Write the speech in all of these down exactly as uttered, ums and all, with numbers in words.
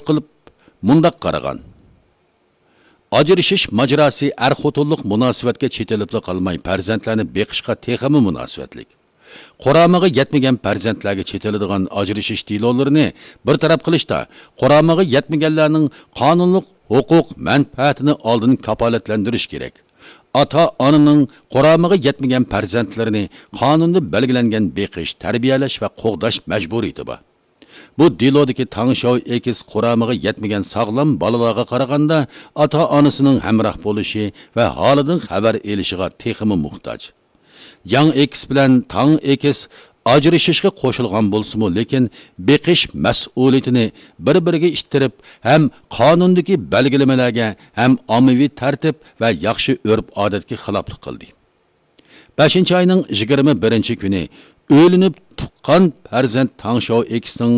قىلىپ مۇنداق قارىغان: ئاجرىشىش ماجىراسى ئەر-خوتۇنلۇق مۇناسىۋەتكە چېتىلىپلا قالماي، پەرزەنتلەرنى بېقىشقا تېخىمۇ مۇناسىۋەتلىك. قۇرامىغا يەتمىگەن پەرزەنتلەرگە چېتىلىدىغان ئاجرىشىش دېلولىرىنى بىر تەرەپ قىلىشتا، قۇرامىغا يەتمىگەنلەرنىڭ قانۇنلۇق ھوقۇق مەنپەئەتىنى ئالدىن كاپالەتلەندۈرۈش كېرەك. ئاتا-ئانىنىڭ قۇرامىغا يەتمىگەن پەرزەنتلىرىنى قانۇندا بەلگىلەنگەن بېقىش، تەربىيەلەش ۋە قوغداش مەجبۇرىيىتى بار. بۇ دېلودىكى تاڭ شياۋ ئېكس قۇرامىغا يەتمىگەن ساغلام بالىلارغا قارىغاندا، ئاتا-ئانىسىنىڭ ھەمراھ بولۇشى ۋە ھالىدىن خەۋەر ئېلىشىغا تېخىمۇ موھتاج. ياڭ ئېكس بىلەن تاڭ ئېكس ئاجرىشىشقا قوشۇلغان بولسىمۇ، لېكىن بېقىش مەسئۇلىيىتىنى بىر-بىرىگە ئىتتىرىپ، ھەم قانۇندىكى بەلگىلىمىلەرگە، ھەم ئاممىۋى تەرتىپ ۋە ياخشى ئۆرپ-ئادەتكە خىلاپلىق قىلدى. بەشىنچى ئاينىڭ يىگىرمە بىرىنچى كۈنى ئۆيلىنىپ تۇغقان پەرزەنت تاڭ شياۋ ئېكسنىڭ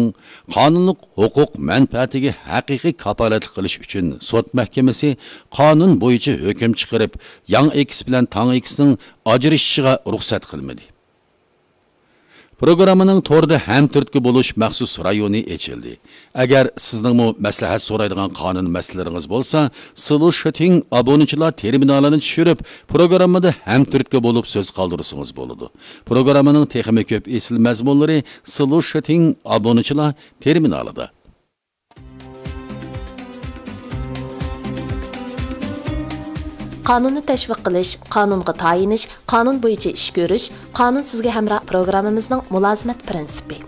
قانۇنلۇق ھوقۇق مەنپەئەتىگە ھەقىقىي كاپالەتلىك قىلىش ئۈچۈن سوت مەھكىمىسى قانۇن بويىچە ھۆكۈم چىقىرىپ، ياڭ ئېكس بىلەن تاڭ ئېكسنىڭ ئاجرىشىشىغا رۇخسەت قىلمىدى. پروگراممىنىڭ توردا ھەمتۈرتكە بولۇش مەخسۇس رايونى ئېچىلدى. ئەگەر سىزنىڭمۇ مەسلىھەت سورايدىغان قانۇن مەسىلىلىرىڭىز بولسا، سلۇشىتىڭ ئابۇنىچىلار تېرمىنالىنى چۈشۈرۈپ، پروگراممىدا ھەمتۈرتكە بولۇپ سۆز قالدۇرسىڭىز بولىدۇ. پروگراممىنىڭ تېخىمۇ كۆپ ئېسىل مەزمۇنلىرى سلۇشىتىڭ ئابۇنىچىلار تېرمىنالىدا. قانۇننى تەشۋىق قىلىش، قانۇنغا تايىنىش، قانۇن بويىچە ئىش كۆرۈش، قانۇن سىزگە ھەمراھ پروگراممىمىزنىڭ مۇلازىمەت پىرىنسىپى.